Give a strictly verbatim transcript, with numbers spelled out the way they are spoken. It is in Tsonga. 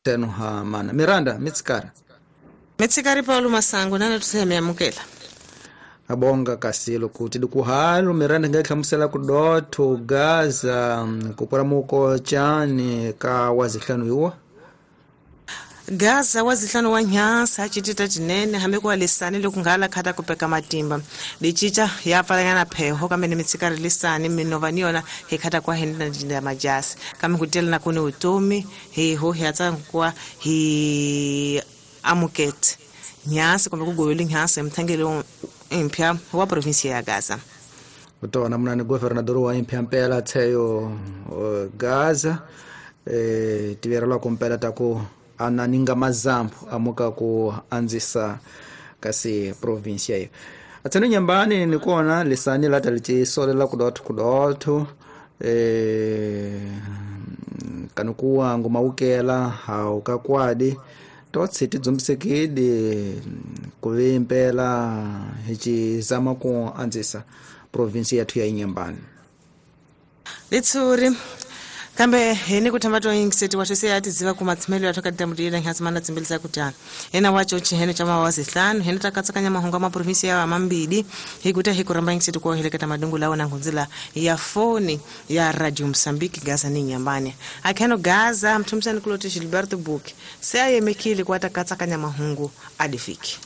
Teno ha mana Miranda mitsikara mitsikari Paulo Masango nana tuseme amukela abonga kasilo kuti dikuhalo Miranda ngahlamusela kudotho Gaza kupora muko chani ka wazihlanu iwa Gaza wazihlanu wa nyansa chitita chinene hambe kwa lisani lokungala khata kupeka matimba lichicha yapalangana pheho kamene mitsikari lisani minova niyona hikhata kwa henda jinda majasi kame kutela na kune utomi hiho hiatsa kwa hi amukete nyansa kumbe kugovela nyansa emthangelo impya wa provinsia ya Gaza utona munani governador wa impya mpela tseyo Gaza eh tiverelwa kumpela taku ananinga mazambu amuka ku anzisa kasi provinsia hiyo atsene nyambani nikona lisani lata lichisolela kudotho kudotho eh kanukuwa ngumaukela haukakwadi totsi tidzumbisekidi kuvimpela hichizama ku anzisa provinsia yathu ya Inyambani litsuri kambe hene kutamba to ingiseti wa twese ati ziva kumatsimelo ya thoka damudira nhasimana tsimbelisa kutana ena wacho chihene cha mawazihlanu hene takatsakanya mahunga ma provinsi ya mambidi hikuta hikuramba ingiseti kwa heleketa madungu lawo na ngunzila ya foni ya Radio Msambiki Gaza ni Nyambani akheno Gaza mtumsani kuloti Gilberto Book se ayemekile kwa takatsakanya mahungu adifiki.